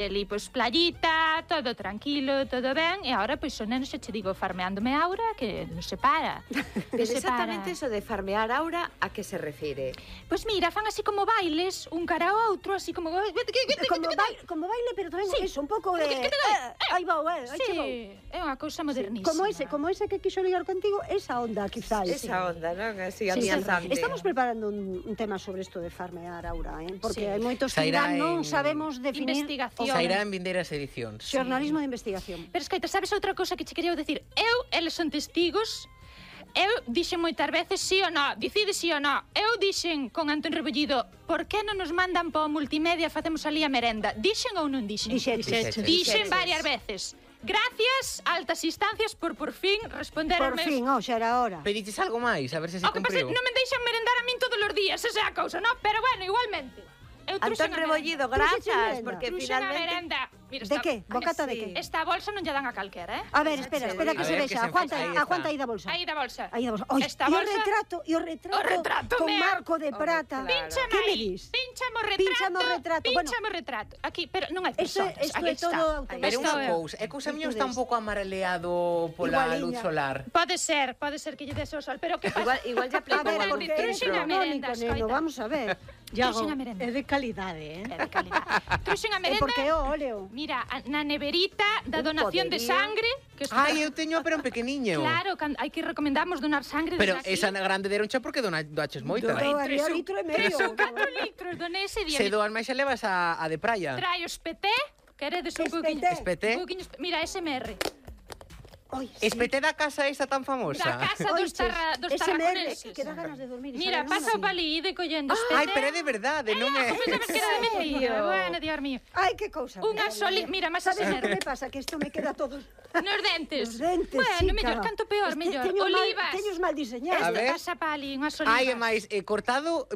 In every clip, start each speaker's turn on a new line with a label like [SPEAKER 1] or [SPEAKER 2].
[SPEAKER 1] ali, pois, playita, todo tranquilo, todo ben, e agora, pois, o neno xa che digo, farmeándome Aura, que non se para.
[SPEAKER 2] Pero exactamente eso de farmear Aura, a que se refire?
[SPEAKER 1] Pois mira, fan así como bailes, un cara ao outro, así como...
[SPEAKER 3] Como baile, pero tamén eso, un pouco de... Aí vou, aí che vou.
[SPEAKER 1] Sí, é unha cousa modernísima.
[SPEAKER 3] Como ese que quixo ligar contigo, esa onda, quizás.
[SPEAKER 2] Esa onda, non? Así,
[SPEAKER 3] Sí,
[SPEAKER 2] amiazante.
[SPEAKER 3] estamos preparando un tema sobre isto de farmear Aura, porque hai moitos que
[SPEAKER 4] Sairá
[SPEAKER 3] non
[SPEAKER 4] en
[SPEAKER 3] sabemos definir
[SPEAKER 1] investigación.
[SPEAKER 4] Sairá en vindeiras edicións.
[SPEAKER 3] xornalismo de investigación.
[SPEAKER 1] Pero escoita, sabes outra cousa que che quería dicir? Eles son testigos. Eu dixen moitas veces sí ou non, dicide sí ou non. Eu dixen con Antón Rebollido, por que non nos mandan para o multimedia, facemos ali a merenda? Dixen ou non dixen? Dixen varias veces. Gracias, altas instancias, por fin responder
[SPEAKER 3] Por fin, xa era hora.
[SPEAKER 4] Pediches algo máis, a ver se se
[SPEAKER 1] O que pasa é
[SPEAKER 4] cumpriu.
[SPEAKER 1] que non me deixan merendar a min todos os días, esa é a cousa, non? Pero bueno, igualmente.
[SPEAKER 2] Antón Rebollido, grazas, porque
[SPEAKER 1] Truxen a
[SPEAKER 2] finalmente...
[SPEAKER 1] merenda. Mira,
[SPEAKER 3] De que? Bocata de que?
[SPEAKER 1] Esta bolsa non lle dan a calquera,
[SPEAKER 3] A ver, espera que
[SPEAKER 4] A
[SPEAKER 3] se
[SPEAKER 4] ver, que
[SPEAKER 3] vexa.
[SPEAKER 4] se faxa, aí
[SPEAKER 3] Aguanta
[SPEAKER 4] está.
[SPEAKER 3] aí da bolsa.
[SPEAKER 1] Aí da bolsa.
[SPEAKER 3] Aí da bolsa. Oi,
[SPEAKER 1] Esta
[SPEAKER 3] e o
[SPEAKER 1] bolsa-
[SPEAKER 3] retrato con marco de prata.
[SPEAKER 1] Pínchame
[SPEAKER 3] Que me
[SPEAKER 1] aí.
[SPEAKER 3] dis?
[SPEAKER 1] Pínchame o retrato.
[SPEAKER 3] Pínchame
[SPEAKER 1] o retrato. Aquí, pero non hai
[SPEAKER 3] Isto
[SPEAKER 1] personas.
[SPEAKER 3] é
[SPEAKER 1] Aquí está.
[SPEAKER 3] todo
[SPEAKER 4] Pero
[SPEAKER 3] automático.
[SPEAKER 4] unha cousa, é cousa miña está un pouco amareleado pola
[SPEAKER 3] Igualiña.
[SPEAKER 4] luz solar.
[SPEAKER 1] Pode ser que lle des o sol, pero que pasa?
[SPEAKER 2] Igual
[SPEAKER 3] A
[SPEAKER 2] ya aplicou
[SPEAKER 3] ver,
[SPEAKER 2] algún
[SPEAKER 3] porque
[SPEAKER 1] Truxen
[SPEAKER 3] é
[SPEAKER 1] a
[SPEAKER 2] filtro.
[SPEAKER 1] merenda,
[SPEAKER 3] canónico, neno,
[SPEAKER 1] escoita.
[SPEAKER 3] vamos a ver.
[SPEAKER 1] Truxen a merenda.
[SPEAKER 5] É de calidade,
[SPEAKER 1] É de calidade. Truxen a
[SPEAKER 3] É
[SPEAKER 1] merenda.
[SPEAKER 3] porque é o óleo.
[SPEAKER 1] Mira, na neverita da donación de
[SPEAKER 2] poderío.
[SPEAKER 1] sangre, que isto-
[SPEAKER 4] Ai, eu teño, pero en pequeniño.
[SPEAKER 1] Claro, hai que recomendamos donar sangre.
[SPEAKER 4] Pero
[SPEAKER 1] desde aquí.
[SPEAKER 4] esa grande deroncha porque doaches moita.
[SPEAKER 3] Doaría litro e medio.
[SPEAKER 1] 4 litros donei ese día.
[SPEAKER 4] Se doan máis xa levas a de praia.
[SPEAKER 1] Traio espeté, queredes un
[SPEAKER 3] Espeté.
[SPEAKER 1] poquinho.
[SPEAKER 4] Espeté.
[SPEAKER 1] Un poquinho, mira, SMR.
[SPEAKER 3] Oi,
[SPEAKER 4] Espeté da casa esa tan famosa.
[SPEAKER 1] Da casa dos tarraconeses.
[SPEAKER 3] que dá ganas de dormir.
[SPEAKER 1] Mira, pasa o palí de collendo espeté.
[SPEAKER 4] Ai, pero é de verdade, non é...
[SPEAKER 1] Pensabas que era de mentira. Bueno, Dios mío.
[SPEAKER 3] Ai, que cousa.
[SPEAKER 1] Unha soli... Mira, máis
[SPEAKER 3] Sabes
[SPEAKER 1] SMR.
[SPEAKER 3] que me pasa? Que isto me queda todo...
[SPEAKER 1] Nos dentes.
[SPEAKER 3] Os dentes,
[SPEAKER 1] Bueno, mellor,
[SPEAKER 3] chica.
[SPEAKER 1] canto peor, mellor. Olivas.
[SPEAKER 3] Teños mal diseñados.
[SPEAKER 4] A
[SPEAKER 1] Este
[SPEAKER 4] ver.
[SPEAKER 1] pasa palí, unhas olivas.
[SPEAKER 4] Ai, é máis cortado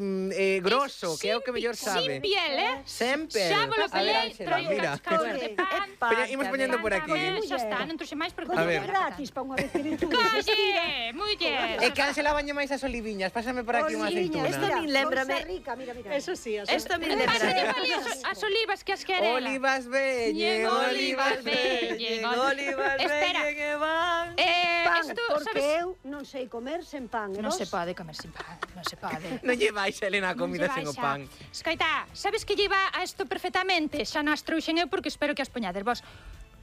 [SPEAKER 4] grosso, que é o que mellor sabe.
[SPEAKER 1] Sin piel,
[SPEAKER 4] Sempre.
[SPEAKER 1] Xa volo
[SPEAKER 4] A ver,
[SPEAKER 1] pelei,
[SPEAKER 4] Ángela,
[SPEAKER 1] traio
[SPEAKER 4] mira.
[SPEAKER 1] cascos de pan.
[SPEAKER 4] Pero imos poñendo por aquí.
[SPEAKER 1] Xa está, non trouxe máis porque...
[SPEAKER 4] A
[SPEAKER 3] Coño,
[SPEAKER 4] ver.
[SPEAKER 3] gratis, pa unha vez que virtudes.
[SPEAKER 1] Colle, muller.
[SPEAKER 4] É que Ángela baña máis as oliviñas. Pásame por aquí unha aceituna.
[SPEAKER 2] Esto ni lémbrame.
[SPEAKER 3] Rica, mira.
[SPEAKER 5] Eso sí,
[SPEAKER 2] Esto me
[SPEAKER 1] Pásate
[SPEAKER 2] lembra.
[SPEAKER 1] palí as olivas que as querela.
[SPEAKER 4] Olivas veñen, olivas veñen,
[SPEAKER 2] Olivas
[SPEAKER 1] Espera.
[SPEAKER 2] veñen que van.
[SPEAKER 3] Pan,
[SPEAKER 1] Isto,
[SPEAKER 3] porque
[SPEAKER 1] sabes...
[SPEAKER 3] eu non sei comer sen pan.
[SPEAKER 1] Non se pode comer sin pan, non se pode.
[SPEAKER 4] Non lle vais, Elena, a comida sen o pan.
[SPEAKER 1] Escoita, sabes que lleva a isto perfectamente? Xa nas trouxen eu porque espero que as poñades vos.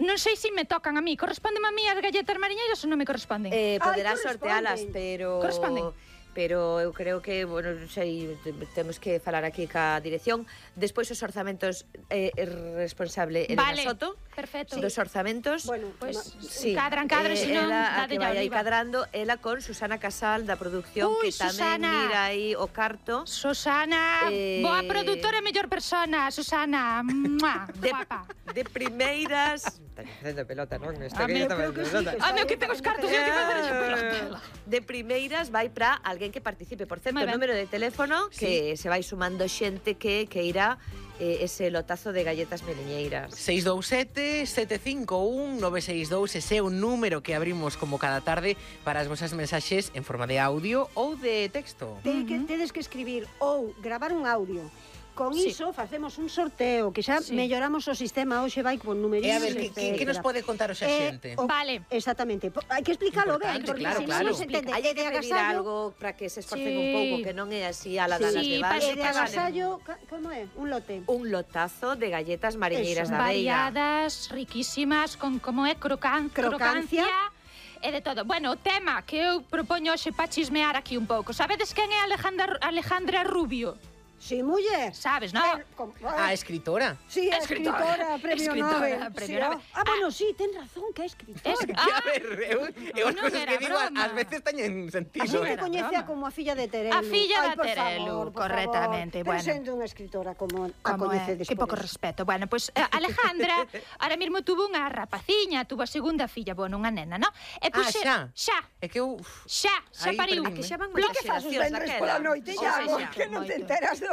[SPEAKER 1] Non sei se me tocan a mí. Correspondeme a mí as galletas mariñeiras ou non me corresponden?
[SPEAKER 2] Poderás
[SPEAKER 3] corresponden.
[SPEAKER 2] sortealas, pero...
[SPEAKER 1] Corresponden.
[SPEAKER 2] Pero eu creo que, bueno, non sei, temos que falar aquí ca dirección. Despois os orzamentos é responsable Elena
[SPEAKER 1] Vale,
[SPEAKER 2] Soto.
[SPEAKER 1] perfecto.
[SPEAKER 2] Dos orzamentos.
[SPEAKER 3] Bueno,
[SPEAKER 1] Pois,
[SPEAKER 2] Sí,
[SPEAKER 1] cadran, se non,
[SPEAKER 2] ela a
[SPEAKER 1] dádelle
[SPEAKER 2] que
[SPEAKER 1] a
[SPEAKER 2] vai aí
[SPEAKER 1] oliva.
[SPEAKER 2] cadrando, ela con Susana Casal da producción,
[SPEAKER 1] Ui,
[SPEAKER 2] que tamén
[SPEAKER 1] Susana.
[SPEAKER 2] mira aí o carto.
[SPEAKER 1] Susana, boa produtora e mellor persona, Susana. Mua, guapa.
[SPEAKER 2] De primeiras... Está facendo pelota, non? Esta
[SPEAKER 3] meu,
[SPEAKER 2] está
[SPEAKER 3] creo que
[SPEAKER 2] facendo
[SPEAKER 3] sí,
[SPEAKER 2] pelota.
[SPEAKER 3] que
[SPEAKER 1] Ah, meu, que ten os cartos, eu que facer esa pelota.
[SPEAKER 2] De primeiras vai para alguén que participe. Por certo,
[SPEAKER 1] Moi
[SPEAKER 2] o
[SPEAKER 1] ben.
[SPEAKER 2] número de teléfono que se vai sumando xente que irá ese lotazo de galletas meliñeiras.
[SPEAKER 4] 627-751-962. Ese é un número que abrimos como cada tarde para as vosas mensaxes en forma de audio ou de texto.
[SPEAKER 3] Tedes que escribir ou gravar un audio. Con
[SPEAKER 1] Sí.
[SPEAKER 3] iso facemos un sorteo, que xa
[SPEAKER 1] Sí.
[SPEAKER 3] melloramos o sistema, hoxe vai con
[SPEAKER 4] E
[SPEAKER 3] numeritos,
[SPEAKER 4] a ver, que nos pode contar hoxe a xente?
[SPEAKER 1] Vale.
[SPEAKER 3] Exactamente. Hai que explicarlo ben,
[SPEAKER 4] Importante,
[SPEAKER 3] porque
[SPEAKER 4] claro,
[SPEAKER 3] se
[SPEAKER 4] claro.
[SPEAKER 3] non se entende.
[SPEAKER 2] Hai
[SPEAKER 3] E
[SPEAKER 2] que
[SPEAKER 3] de
[SPEAKER 2] pedir
[SPEAKER 3] agasallo,
[SPEAKER 2] algo para que se esforcen
[SPEAKER 1] Sí.
[SPEAKER 2] un pouco, que non é así a la dalas
[SPEAKER 1] Sí,
[SPEAKER 2] de
[SPEAKER 1] pa-
[SPEAKER 2] base.
[SPEAKER 3] e de agasallo, como é? Un lote.
[SPEAKER 2] Un lotazo de galletas mariñeiras
[SPEAKER 3] Eso.
[SPEAKER 2] da Veiga.
[SPEAKER 1] Variadas, riquísimas, con como é crocancia e de todo. Bueno, o tema que eu propoño hoxe para chismear aquí un pouco. Sabedes quen é Alejandra Rubio?
[SPEAKER 3] Sí, muller.
[SPEAKER 1] Sabes, non?
[SPEAKER 4] A escritora.
[SPEAKER 3] Sí, a escritora, premio
[SPEAKER 1] Escritora,
[SPEAKER 3] Nobel.
[SPEAKER 1] premio
[SPEAKER 3] Sí,
[SPEAKER 1] Nobel.
[SPEAKER 3] bueno, sí, ten razón, que é escritora.
[SPEAKER 4] Que a ver, eu as
[SPEAKER 1] non
[SPEAKER 4] cousas
[SPEAKER 1] era
[SPEAKER 4] que digo
[SPEAKER 1] broma.
[SPEAKER 4] ás veces teñen
[SPEAKER 3] A
[SPEAKER 4] sentido.
[SPEAKER 3] xente
[SPEAKER 1] era
[SPEAKER 3] coñecea
[SPEAKER 1] broma.
[SPEAKER 3] como a filla de Terelu.
[SPEAKER 1] A filla
[SPEAKER 3] Ai,
[SPEAKER 1] da
[SPEAKER 3] por
[SPEAKER 1] Terelu,
[SPEAKER 3] favor, por
[SPEAKER 1] correctamente,
[SPEAKER 3] favor.
[SPEAKER 1] bueno.
[SPEAKER 3] Pero sendo unha escritora como a
[SPEAKER 1] Como
[SPEAKER 3] coñecedes
[SPEAKER 1] que
[SPEAKER 3] por
[SPEAKER 1] pouco
[SPEAKER 3] eso.
[SPEAKER 1] respeto. Bueno, pois Alejandra ahora mesmo tuvo unha rapaciña, tuvo a segunda filla, bueno, unha nena, non? E pois
[SPEAKER 4] xa.
[SPEAKER 1] xa,
[SPEAKER 4] É que eu...
[SPEAKER 1] xa
[SPEAKER 4] Aí
[SPEAKER 1] pariu.
[SPEAKER 4] perdínme.
[SPEAKER 2] Que xa van
[SPEAKER 3] Lo
[SPEAKER 2] moitas
[SPEAKER 3] que fas os
[SPEAKER 2] xeracións
[SPEAKER 3] vendres
[SPEAKER 2] daquela.
[SPEAKER 3] pola noite,
[SPEAKER 1] Sí,
[SPEAKER 3] xa,
[SPEAKER 1] sí,
[SPEAKER 3] que non te
[SPEAKER 1] moito.
[SPEAKER 3] enteras do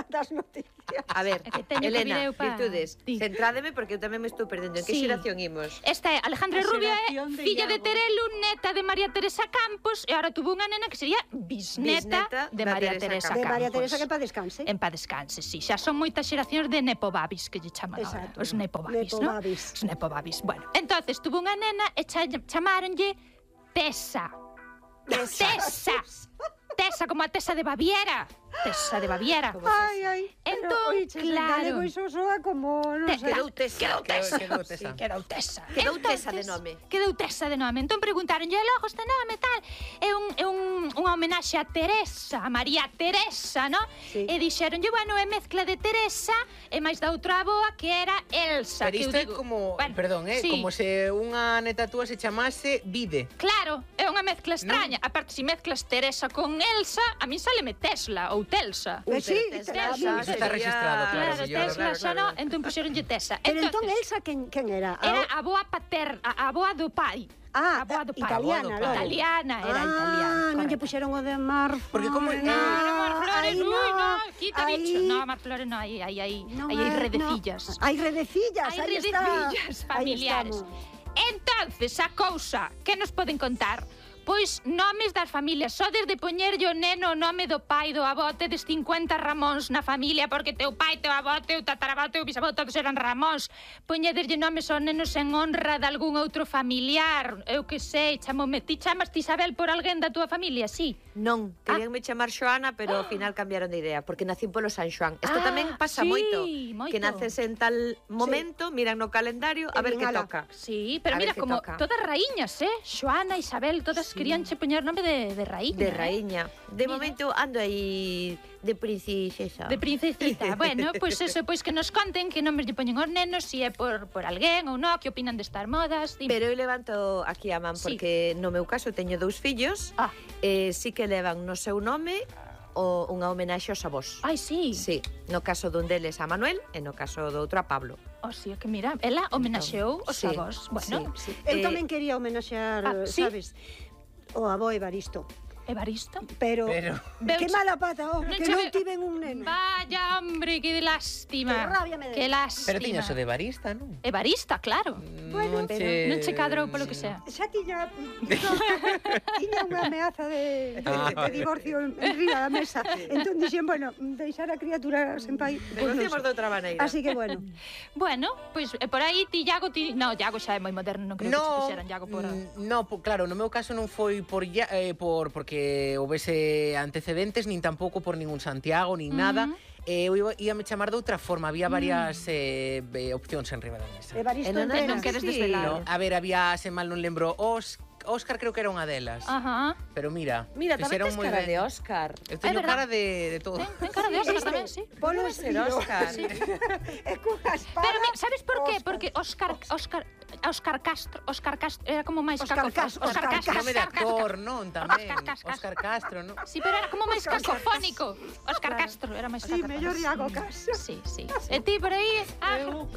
[SPEAKER 3] das noticias.
[SPEAKER 2] A ver,
[SPEAKER 1] É que teño que
[SPEAKER 2] Elena,
[SPEAKER 1] vir eu pa-
[SPEAKER 2] virtudes,
[SPEAKER 1] Di.
[SPEAKER 2] centrádeme porque eu tamén me estou perdendo. En que
[SPEAKER 1] Sí.
[SPEAKER 2] xeración imos?
[SPEAKER 1] Esta é Alejandra
[SPEAKER 3] A
[SPEAKER 1] Rubio,
[SPEAKER 3] xeración de
[SPEAKER 1] filla de
[SPEAKER 3] Iago.
[SPEAKER 1] Terelu, neta de María Teresa Campos, e ahora tuvo unha nena que sería bisneta
[SPEAKER 2] Bisneta
[SPEAKER 1] de
[SPEAKER 2] da
[SPEAKER 1] María
[SPEAKER 2] Teresa
[SPEAKER 1] Teresa
[SPEAKER 3] De
[SPEAKER 1] Campos.
[SPEAKER 3] María Teresa que pa descanse.
[SPEAKER 1] En paz descanse, sí. Xa son moitas xeracións de nepobabis que lle chaman agora.
[SPEAKER 3] Exacto.
[SPEAKER 1] Os nepobabis, ¿no?
[SPEAKER 3] Nepobabis.
[SPEAKER 1] Os nepobabis. Bueno, entonces tuvo unha nena e chamaronlle Tessa. Tessa. Tessa, como a Tessa de Baviera. Tessa de Baviera.
[SPEAKER 3] Ai.
[SPEAKER 1] Entón, claro.
[SPEAKER 3] Galego iso soa como, non sei.
[SPEAKER 2] Quedou Tesa.
[SPEAKER 1] Quedou Tessa.
[SPEAKER 4] Quedou Tessa.
[SPEAKER 1] Quedou Tessa.
[SPEAKER 2] Quedou Tesa de
[SPEAKER 1] Entonces,
[SPEAKER 2] nome.
[SPEAKER 1] Quedou Tessa de nome. Entón preguntaronlle, logo este nome tal, é unha homenaxe a Teresa, a María Teresa, no?
[SPEAKER 3] Sí.
[SPEAKER 1] E dixeronlle, bueno, é mezcla de Teresa e máis da outra aboa que era Elsa.
[SPEAKER 4] Pero
[SPEAKER 1] que eu
[SPEAKER 4] isto é
[SPEAKER 1] digo,
[SPEAKER 4] como,
[SPEAKER 1] bueno,
[SPEAKER 4] perdón,
[SPEAKER 1] sí.
[SPEAKER 4] como se unha neta túa se chamase Vide.
[SPEAKER 1] Claro, é unha mezcla extraña. Aparte, se mezclas Teresa con Elsa, a mí saleme Tesla ou Telsa.
[SPEAKER 3] Sí,
[SPEAKER 2] Tesa,
[SPEAKER 4] Iso está registrado,
[SPEAKER 1] Claro,
[SPEAKER 4] señor.
[SPEAKER 1] Tesla xa no, entón puxeronlle Tessa.
[SPEAKER 3] Pero entón
[SPEAKER 1] Entonces,
[SPEAKER 3] Elsa quen era?
[SPEAKER 1] era a aboa paterna, a aboa do pai.
[SPEAKER 3] Ah,
[SPEAKER 1] a aboa do pai.
[SPEAKER 3] italiana,
[SPEAKER 4] logo.
[SPEAKER 1] Italiana, era italiana.
[SPEAKER 3] Non lle
[SPEAKER 1] correcto.
[SPEAKER 3] puxeron o de Mar.
[SPEAKER 4] Porque como-
[SPEAKER 1] No, Mar Flores,
[SPEAKER 3] Aí
[SPEAKER 1] uy,
[SPEAKER 3] no,
[SPEAKER 1] no, quita
[SPEAKER 3] aí.
[SPEAKER 1] bicho. No, Mar Flores no, aí
[SPEAKER 3] Non
[SPEAKER 1] hai redecillas.
[SPEAKER 3] No. Hai redecillas,
[SPEAKER 1] Hai
[SPEAKER 3] aí está.
[SPEAKER 1] redecillas familiares.
[SPEAKER 3] Aí estamos.
[SPEAKER 1] Entonces, a cousa, que nos poden contar? Pois nomes das familias, só desde poñerlle o neno o nome do pai do avó, tedes 50 Ramóns na familia, porque teu pai, teu avó, teu tataravó, teu bisavó, todos eran Ramóns. Poñederlle nomes aos nenos en honra de algún outro familiar, eu que sei, ti chamas Isabel por alguén da túa familia, sí?
[SPEAKER 2] Non, queríanme chamar Xoana, pero ao final cambiaron de idea, porque nacín polo San Xoán. Isto tamén pasa
[SPEAKER 1] sí,
[SPEAKER 2] moito,
[SPEAKER 1] moito.
[SPEAKER 2] que naces en tal momento, miran no calendario a ver que
[SPEAKER 3] Ala.
[SPEAKER 2] toca.
[SPEAKER 1] Sí, pero
[SPEAKER 2] A
[SPEAKER 1] mira,
[SPEAKER 2] ver que
[SPEAKER 1] como
[SPEAKER 2] toca.
[SPEAKER 1] todas raíñas, Xoana, Isabel, todas queríanche poñer nome de raíña.
[SPEAKER 2] De raíña. De
[SPEAKER 1] Mira.
[SPEAKER 2] momento ando aí de princesa.
[SPEAKER 1] De princesita. Bueno, pois eso, pois que nos conten que nomes lle poñen aos nenos, se é por alguén ou non, que opinan destas modas. Dime.
[SPEAKER 2] Pero eu levanto aquí a man,
[SPEAKER 1] Sí.
[SPEAKER 2] porque no meu caso teño 2 fillos,
[SPEAKER 1] Ah.
[SPEAKER 2] sí que levan no seu nome unha homenaxe aos avós.
[SPEAKER 1] Ai, sí.
[SPEAKER 2] Sí, no caso dun deles a Manuel e no caso do outro a Pablo.
[SPEAKER 1] O sea, que mira, ela homenaxeou os
[SPEAKER 2] Sí,
[SPEAKER 1] avós. Bueno,
[SPEAKER 2] sí, sí.
[SPEAKER 3] Eu tamén quería homenaxear,
[SPEAKER 1] sí?
[SPEAKER 3] sabes, o avó Evaristo.
[SPEAKER 1] Evaristo.
[SPEAKER 3] Pero
[SPEAKER 1] Veu
[SPEAKER 3] que
[SPEAKER 1] che-
[SPEAKER 3] mala pata, oh, que
[SPEAKER 1] che
[SPEAKER 3] non
[SPEAKER 1] ve-
[SPEAKER 3] tiven un neno.
[SPEAKER 1] Vaya, hombre, que lástima.
[SPEAKER 3] Que rabia me
[SPEAKER 1] Que
[SPEAKER 3] deu.
[SPEAKER 1] lástima.
[SPEAKER 4] Pero tiñas o de barista, non?
[SPEAKER 1] Evarista, claro.
[SPEAKER 3] Bueno,
[SPEAKER 1] Non che cadrou polo que sea.
[SPEAKER 3] Xa tiña tiña unha ameaza de divorcio en riba da mesa. Entón dixen, bueno, deixar a criatura sen pai. pois non
[SPEAKER 2] Negociamos
[SPEAKER 3] sei.
[SPEAKER 2] de outra maneira.
[SPEAKER 3] Así que bueno.
[SPEAKER 1] Bueno, pois por aí ti Iago, no, Iago xa é moi moderno, non creo que che puxeran Iago por...
[SPEAKER 4] Claro, no meu caso non foi porque houvese antecedentes, nin tampouco por ningún Santiago, nin nada. Eu íame chamar de outra forma, había varias opcións en riba da mesa.
[SPEAKER 3] Evaristo
[SPEAKER 2] non
[SPEAKER 3] Entrenas.
[SPEAKER 1] non queres
[SPEAKER 3] sí.
[SPEAKER 1] desvelar.
[SPEAKER 4] No, a ver, había, se mal non lembro, Óscar creo que era unha delas.
[SPEAKER 1] Ajá.
[SPEAKER 4] Pero mira,
[SPEAKER 2] Mira, tamén
[SPEAKER 4] fixeron
[SPEAKER 2] tes
[SPEAKER 4] moi
[SPEAKER 2] cara
[SPEAKER 4] ben.
[SPEAKER 2] de Óscar.
[SPEAKER 4] Eu teño
[SPEAKER 1] É verdad.
[SPEAKER 4] cara de todo.
[SPEAKER 1] Ten cara de Óscar tamén, sí.
[SPEAKER 3] Polo
[SPEAKER 2] Debe ser
[SPEAKER 3] estilo.
[SPEAKER 2] Óscar.
[SPEAKER 3] É cunha espada.
[SPEAKER 1] Pero sabes por qué?
[SPEAKER 3] Óscar.
[SPEAKER 1] Porque Óscar Castro era como máis
[SPEAKER 3] Óscar Castro,
[SPEAKER 1] Óscar
[SPEAKER 3] Óscar
[SPEAKER 1] Castro,
[SPEAKER 4] Nome de
[SPEAKER 1] Óscar
[SPEAKER 4] actor,
[SPEAKER 1] Castro.
[SPEAKER 4] non, tamén.
[SPEAKER 1] Óscar Castro.
[SPEAKER 4] Óscar Castro, non?
[SPEAKER 1] Sí, pero era como máis cacofónico. Óscar
[SPEAKER 3] Claro.
[SPEAKER 1] Castro era máis
[SPEAKER 3] Sí,
[SPEAKER 1] cacofónico.
[SPEAKER 3] mellor Iago Castro.
[SPEAKER 1] Sí, sí. E ti por aí,
[SPEAKER 5] Eu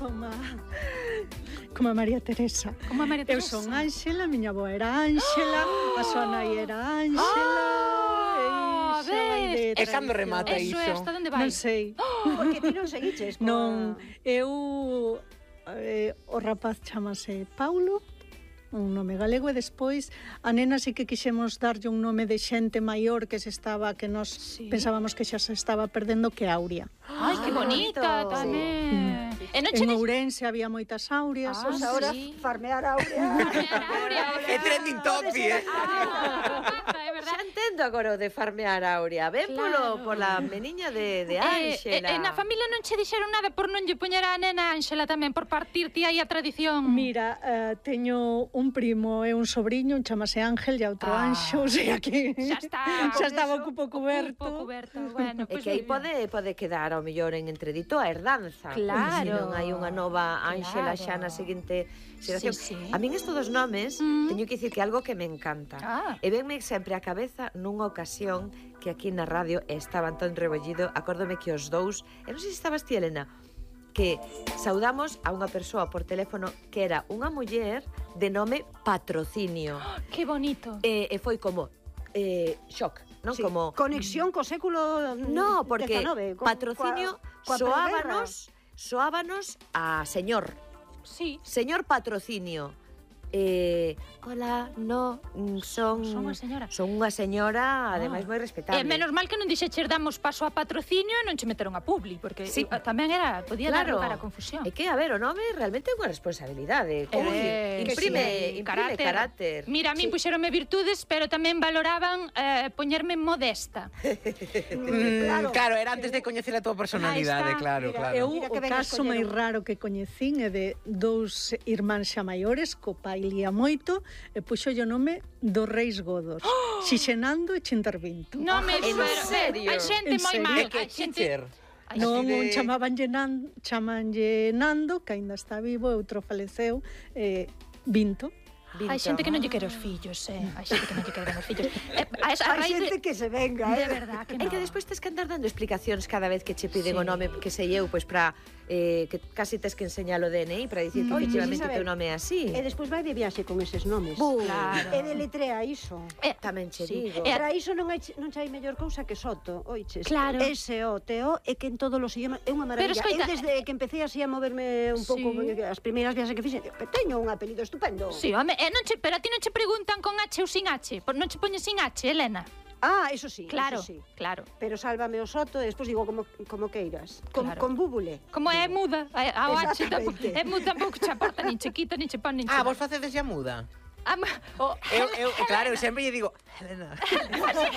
[SPEAKER 5] como a María Teresa.
[SPEAKER 1] como a María
[SPEAKER 5] Eu
[SPEAKER 1] Teresa.
[SPEAKER 5] son Ángela, miña avó era Ángela, a súa nai era Ángela.
[SPEAKER 1] Ah,
[SPEAKER 5] e xa vai de
[SPEAKER 1] ves?
[SPEAKER 4] E cando remata
[SPEAKER 1] Eso é,
[SPEAKER 4] iso?
[SPEAKER 1] hasta onde vai?
[SPEAKER 5] Non sei.
[SPEAKER 3] Porque ti non seguiches. coa-
[SPEAKER 5] Non, eu o rapaz chamase Paulo, un nome galego, e despois a nena sí que quixemos darlle un nome de xente maior que nos
[SPEAKER 1] Sí.
[SPEAKER 5] pensábamos que xa se estaba perdendo, que Aurea.
[SPEAKER 1] Ai, que
[SPEAKER 2] Ah,
[SPEAKER 1] bonita
[SPEAKER 2] bonito.
[SPEAKER 1] tamén. E non che
[SPEAKER 5] En Ourense había moitas Aureas.
[SPEAKER 1] Ah,
[SPEAKER 3] Pois agora
[SPEAKER 1] sí.
[SPEAKER 3] farmear a Aurea.
[SPEAKER 4] É trending topic,
[SPEAKER 1] é verdad.
[SPEAKER 2] Xa entendo agora o de farmear a Aurea. Ben
[SPEAKER 1] Claro.
[SPEAKER 2] pola meniña de
[SPEAKER 1] E
[SPEAKER 2] Ángela.
[SPEAKER 1] na familia non che dixeron nada por non lle poñer a nena Ángela tamén, por partirte aí a tradición.
[SPEAKER 5] Mira, teño un primo e un sobriño, un chamase Ángel e outro
[SPEAKER 1] Ah.
[SPEAKER 5] Anxo, o sea que
[SPEAKER 1] Xa está.
[SPEAKER 5] xa estaba un pouco
[SPEAKER 1] Un
[SPEAKER 5] coberto.
[SPEAKER 1] pouco coberto. Bueno,
[SPEAKER 2] É
[SPEAKER 1] pois
[SPEAKER 2] que aí
[SPEAKER 1] moi ben.
[SPEAKER 2] pode quedar ao mellor en entredito a herdanza.
[SPEAKER 1] Claro.
[SPEAKER 2] Se non hai unha nova Ángela
[SPEAKER 1] Claro.
[SPEAKER 2] xa na seguinte xeración.
[SPEAKER 1] Sí, sí.
[SPEAKER 2] A min estes dos nomes, teño que dicir que é algo que me encanta.
[SPEAKER 1] Ah.
[SPEAKER 2] E venme sempre a cabeza nunha ocasión que aquí na radio estaba Antón Rebollido, acórdome que os dous, e non sei se estabas ti, Elena, que saudamos a unha persoa por teléfono que era unha muller de nome Patrocinio.
[SPEAKER 1] Que bonito.
[SPEAKER 2] E foi como shock. non?
[SPEAKER 3] Sí,
[SPEAKER 2] Como
[SPEAKER 3] conexión co século
[SPEAKER 2] no, porque
[SPEAKER 3] 19,
[SPEAKER 2] patrocinio
[SPEAKER 3] coa preguerra.
[SPEAKER 2] soábanos a señor.
[SPEAKER 1] Sí.
[SPEAKER 2] Señor patrocinio. Hola, no, son
[SPEAKER 1] unha señora.
[SPEAKER 2] Son unha señora, ademais moi respetable.
[SPEAKER 1] Menos mal que non dixeches damos paso a patrocinio e non che meteron a publi, porque
[SPEAKER 2] Sí.
[SPEAKER 1] tamén podía dar lugar a confusión.
[SPEAKER 2] É que, a ver, o nome realmente é unha responsabilidade. Imprime carácter.
[SPEAKER 1] Mira, a min puxeronme virtudes, pero tamén valoraban poñerme modesta.
[SPEAKER 4] Claro, era antes de coñecer a túa personalidade,
[SPEAKER 1] Aí está.
[SPEAKER 4] claro,
[SPEAKER 3] Mira,
[SPEAKER 4] claro.
[SPEAKER 5] Eu,
[SPEAKER 3] Mira
[SPEAKER 5] o
[SPEAKER 3] que ben
[SPEAKER 5] caso máis
[SPEAKER 3] escolleron.
[SPEAKER 5] raro que coñecín é de dous irmáns xa maiores, co pai lía moito, e puxo o nome dos Reis Godos, xixenando e Chintervinto.
[SPEAKER 1] Non me
[SPEAKER 2] ¿en serio?
[SPEAKER 1] Hai xente
[SPEAKER 5] En
[SPEAKER 1] moi
[SPEAKER 5] serio?
[SPEAKER 1] mal.
[SPEAKER 4] De que
[SPEAKER 1] Hai xente...
[SPEAKER 4] teacher?
[SPEAKER 1] Ai,
[SPEAKER 5] Non,
[SPEAKER 4] de-
[SPEAKER 5] un chamanlle Nando, que aínda está vivo, e outro faleceu, Vinto.
[SPEAKER 1] Hai xente que non lle quere os fillos, hai xente que non lle quere os fillos. A
[SPEAKER 3] Hai
[SPEAKER 1] raíz
[SPEAKER 3] xente que se venga,
[SPEAKER 1] de verdad que
[SPEAKER 2] É
[SPEAKER 1] non.
[SPEAKER 2] que despois tes que andar dando explicacións cada vez que che piden o
[SPEAKER 1] Sí.
[SPEAKER 2] nome, que sei eu, pois para que casi tes que enseñar o DNI para dicir que
[SPEAKER 3] Oye,
[SPEAKER 2] efectivamente o
[SPEAKER 3] Isabel,
[SPEAKER 2] teu nome é así.
[SPEAKER 3] E despois vai de viaxe con eses nomes.
[SPEAKER 1] Claro.
[SPEAKER 3] E deletrea iso.
[SPEAKER 2] Tamén che
[SPEAKER 1] Sí.
[SPEAKER 2] digo.
[SPEAKER 3] Para iso non hai mellor cousa que Soto, oiches.
[SPEAKER 1] Claro.
[SPEAKER 3] S-O-T-O é que en todos os idiomas é unha maravilla.
[SPEAKER 1] escoita,
[SPEAKER 3] Eu desde que empecé así a moverme un pouco,
[SPEAKER 1] Sí.
[SPEAKER 3] as primeiras viaxes que fixen, teño un apelido estupendo.
[SPEAKER 1] Sí, home, pero a ti non che preguntan con H ou sin H? Non che poñes sin H, Elena?
[SPEAKER 3] Ah, eso sí,
[SPEAKER 1] Claro,
[SPEAKER 3] eso sí.
[SPEAKER 1] claro.
[SPEAKER 3] Pero sálvame o Soto e despois digo como queiras.
[SPEAKER 1] Claro.
[SPEAKER 3] Con búbule.
[SPEAKER 1] Como é muda, a H tampouco,
[SPEAKER 3] Exactamente.
[SPEAKER 1] é muda tampouco che aporta, nin che quita, nin che pon, nin che
[SPEAKER 4] Ah,
[SPEAKER 1] dá.
[SPEAKER 4] vos facedes ya muda? Claro, eu sempre lle digo,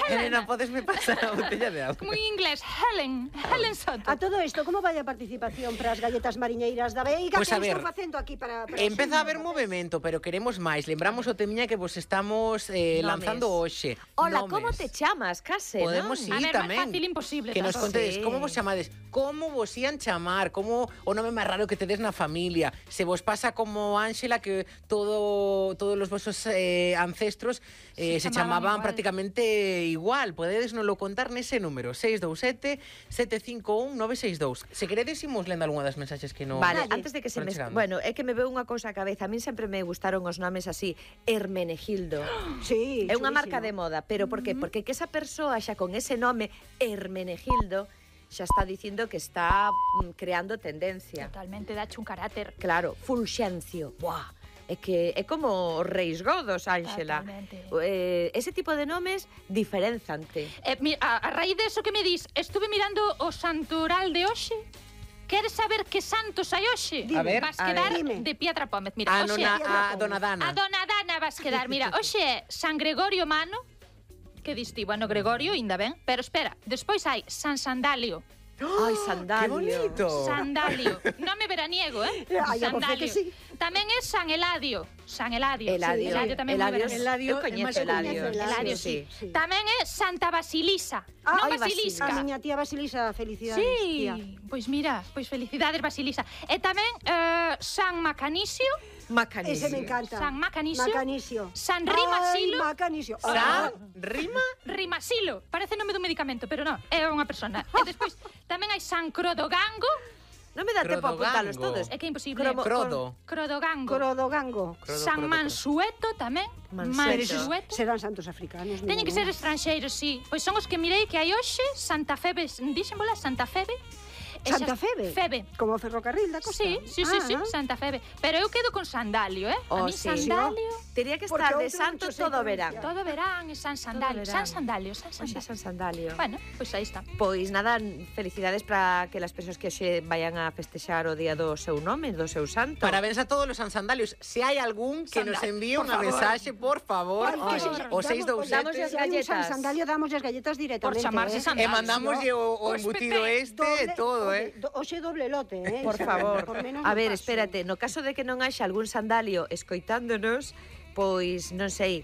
[SPEAKER 4] Helena, podesme pasar a botella de agua.
[SPEAKER 1] Como en inglés, Helen Soto.
[SPEAKER 3] A todo isto, como vai a participación para as galletas mariñeiras da Veiga?
[SPEAKER 4] Pois
[SPEAKER 3] Que
[SPEAKER 4] a ver,
[SPEAKER 3] estou facendo aquí para
[SPEAKER 4] Empeza a haber movimento, pero queremos máis. Lembramos o temiña que vos estamos lanzando hoxe.
[SPEAKER 2] Hola,
[SPEAKER 4] Nomes.
[SPEAKER 2] como te chamas, case,
[SPEAKER 4] Podemos
[SPEAKER 2] non?
[SPEAKER 1] A
[SPEAKER 4] ir
[SPEAKER 1] ver,
[SPEAKER 4] tamén.
[SPEAKER 1] máis fácil imposible.
[SPEAKER 4] Que nos
[SPEAKER 1] tampouco.
[SPEAKER 4] contedes
[SPEAKER 2] Sí.
[SPEAKER 4] como vos chamades, como vos ian chamar, como o nome máis raro que tedes na familia. Se vos pasa como Ángela que todos os vosos ancestros se chamaban
[SPEAKER 1] igual.
[SPEAKER 4] prácticamente igual. Podedes nos lo contar nese número 627 751 962. Se queredes imos lendo algunha das mensaxes que non
[SPEAKER 2] Vale,
[SPEAKER 3] Dalle.
[SPEAKER 2] antes de que se
[SPEAKER 4] Van
[SPEAKER 2] me...
[SPEAKER 4] chegando.
[SPEAKER 2] Bueno, é que me veo unha cousa a cabeza. A min sempre me gustaron os nomes así, Hermenegildo.
[SPEAKER 3] Sí,
[SPEAKER 2] É unha
[SPEAKER 3] chulísimo.
[SPEAKER 2] marca de moda, pero por qué? Porque que esa persoa xa con ese nome, Hermenegildo, xa está dicindo que está creando tendencia.
[SPEAKER 1] Totalmente, dache un carácter.
[SPEAKER 2] Claro, Fulxencio. Buah, é que é como os Reis Godos, Ángela.
[SPEAKER 1] Totalmente.
[SPEAKER 2] Ese tipo de nomes diferenzante.
[SPEAKER 1] A raíz de eso que me dis, estuve mirando o santoral de hoxe. Queres saber que santos hai hoxe?
[SPEAKER 4] A ver,
[SPEAKER 1] vas
[SPEAKER 4] a
[SPEAKER 1] quedar
[SPEAKER 3] ver. Dime.
[SPEAKER 1] de Pietra Pómez. Mira, hoxe
[SPEAKER 4] a Dona Dana.
[SPEAKER 1] a Dona Dana vas quedar. Mira, hoxe é San Gregorio Mano. Que diste? Bueno, Gregorio, ainda ben. Pero espera, despois hai San Sandalio.
[SPEAKER 2] Ai,
[SPEAKER 4] ¡Qué
[SPEAKER 2] Sandalio.
[SPEAKER 4] bonito!
[SPEAKER 1] Sandalio. Nome veraniego,
[SPEAKER 3] Ai, a voce que sí.
[SPEAKER 1] Tamén é San Eladio. San Eladio.
[SPEAKER 2] Eladio.
[SPEAKER 1] Eladio tamén moi
[SPEAKER 2] Eladio,
[SPEAKER 1] veraniego.
[SPEAKER 5] Eladio
[SPEAKER 2] eu
[SPEAKER 5] é
[SPEAKER 2] coñezo
[SPEAKER 5] máis
[SPEAKER 2] Eladio.
[SPEAKER 5] coñecido.
[SPEAKER 1] Eladio,
[SPEAKER 2] sí.
[SPEAKER 3] Sí.
[SPEAKER 1] Tamén é Santa Basilisa.
[SPEAKER 3] Ah,
[SPEAKER 1] non
[SPEAKER 2] ai,
[SPEAKER 1] Basilisca.
[SPEAKER 3] A miña tía Basilisa, felicidades,
[SPEAKER 1] Sí,
[SPEAKER 3] tía.
[SPEAKER 1] pois mira, pois felicidades Basilisa. E tamén San Macanicio,
[SPEAKER 2] Macanisio.
[SPEAKER 3] Ese me encanta.
[SPEAKER 1] San Macanicio,
[SPEAKER 3] Macanisio.
[SPEAKER 1] San Rimasilo.
[SPEAKER 3] Ai, Macanisio.
[SPEAKER 4] San, rima,
[SPEAKER 1] Rimasilo, parece nome dun medicamento, pero non, é unha persona. E despois tamén hai San Crodogango,
[SPEAKER 2] Non me dá tempo a apuntalos
[SPEAKER 4] Crodogango.
[SPEAKER 2] todos.
[SPEAKER 1] é que é imposible.
[SPEAKER 4] Crodo.
[SPEAKER 1] Crodogango.
[SPEAKER 3] Crodogango.
[SPEAKER 1] San Mansueto tamén.
[SPEAKER 2] Mansueto.
[SPEAKER 1] Mansueto.
[SPEAKER 3] Serán santos africanos.
[SPEAKER 1] Teñen que ser estranxeiros, sí. Pois son os que mirei que hai hoxe, Santa Febe, dixenbola Santa Febe. E
[SPEAKER 3] Santa
[SPEAKER 1] xa-
[SPEAKER 3] Febe?
[SPEAKER 1] Febe.
[SPEAKER 3] Como o ferrocarril da costa.
[SPEAKER 1] Sí, sí, sí, sí, Santa Febe. Pero eu quedo con Sandalio, a
[SPEAKER 2] Oh,
[SPEAKER 1] mí
[SPEAKER 2] sí.
[SPEAKER 1] Sandalio,
[SPEAKER 2] Tería que
[SPEAKER 3] Porque
[SPEAKER 2] estar de
[SPEAKER 3] outro
[SPEAKER 2] santo
[SPEAKER 3] mucho
[SPEAKER 2] todo
[SPEAKER 3] se
[SPEAKER 2] verán.
[SPEAKER 3] pronuncia.
[SPEAKER 1] todo verán e San Sandalio,
[SPEAKER 2] verán.
[SPEAKER 1] San Sandalio, San
[SPEAKER 2] Oxe,
[SPEAKER 1] Sandalio.
[SPEAKER 2] San Sandalio.
[SPEAKER 1] Bueno, pois aí está.
[SPEAKER 2] Pois nada, felicidades para que as persoas que hoxe vayan a festexar o día do seu nome, do seu santo.
[SPEAKER 4] Parabéns a todos os Sandalios. Se hai algún que nos envíe unha mensaxe, por favor,
[SPEAKER 3] Ay, que
[SPEAKER 4] o
[SPEAKER 3] sí,
[SPEAKER 2] damoslle as
[SPEAKER 4] 627
[SPEAKER 3] Se hai un
[SPEAKER 2] galletas.
[SPEAKER 3] San Sandalio, damos as galletas directamente.
[SPEAKER 1] Por chamarse Sandalio.
[SPEAKER 4] e mandamoslle o
[SPEAKER 1] Os
[SPEAKER 4] embutido
[SPEAKER 1] Pepe,
[SPEAKER 4] este e todo,
[SPEAKER 3] Oxe doble lote,
[SPEAKER 2] Por favor.
[SPEAKER 3] Por menos
[SPEAKER 2] A
[SPEAKER 3] non
[SPEAKER 2] ver,
[SPEAKER 3] paso.
[SPEAKER 2] espérate, no caso de que non haxa algún sandalio escoitándonos, pois, non sei,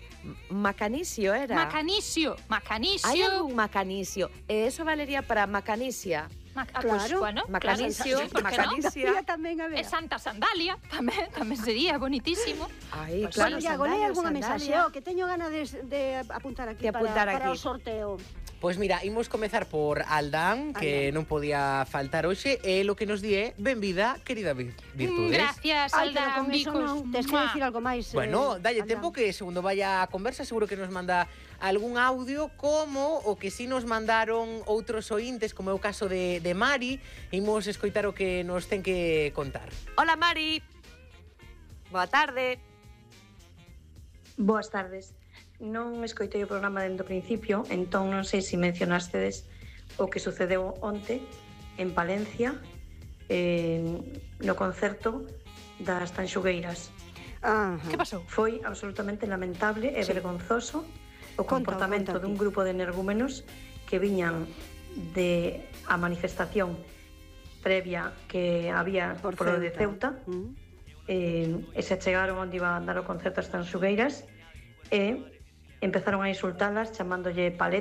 [SPEAKER 2] Macanicio era?
[SPEAKER 1] Macanicio, Macanicio.
[SPEAKER 2] Hai algún Macanicio, e eso valería para Macanisia.
[SPEAKER 1] Pois,
[SPEAKER 3] Claro,
[SPEAKER 1] bueno,
[SPEAKER 2] Macanicio,
[SPEAKER 1] claro, por que non?
[SPEAKER 2] Macanicia.
[SPEAKER 3] Mira, tamén a ver.
[SPEAKER 1] E Santa Sandalia, tamén sería bonitísimo.
[SPEAKER 2] Ai,
[SPEAKER 3] Bueno,
[SPEAKER 2] claro,
[SPEAKER 3] Iago, lee
[SPEAKER 2] sandalia,
[SPEAKER 3] algunha
[SPEAKER 2] sandalia.
[SPEAKER 3] mensaxe, que teño gana de apuntar aquí,
[SPEAKER 2] De apuntar
[SPEAKER 3] para
[SPEAKER 2] aquí.
[SPEAKER 3] o sorteo.
[SPEAKER 4] Pois mira, imos comezar por Aldán, que non podía faltar hoxe, e lo que nos di é benvida, querida Virtudes.
[SPEAKER 1] Gracias,
[SPEAKER 3] Ai, pero
[SPEAKER 1] Aldán,
[SPEAKER 3] con eso
[SPEAKER 1] bicos.
[SPEAKER 3] non, tes que decir algo máis.
[SPEAKER 4] Bueno, dalle
[SPEAKER 3] Aldán.
[SPEAKER 4] tempo que segundo vaya a conversa seguro que nos manda algún audio como o que si nos mandaron outros ointes, como é o caso de Mari. Imos escoitar o que nos ten que contar.
[SPEAKER 2] Hola, Mari. Boa tarde.
[SPEAKER 6] Boas tardes. Non escoitei o programa dende o principio, entón non sei se mencionastedes o que sucedeu onte en Palencia, no concerto das Tanxugueiras.
[SPEAKER 1] Que pasou?
[SPEAKER 6] Foi absolutamente lamentable e vergonzoso o comportamento dun grupo de energúmenos que viñan de a manifestación previa que había
[SPEAKER 3] Por
[SPEAKER 6] polo de
[SPEAKER 3] Ceuta.
[SPEAKER 6] Ceuta, e se chegaron onde iba a dar o concerto as Tanxugueiras e empezaron a insultalas chamándolle paleta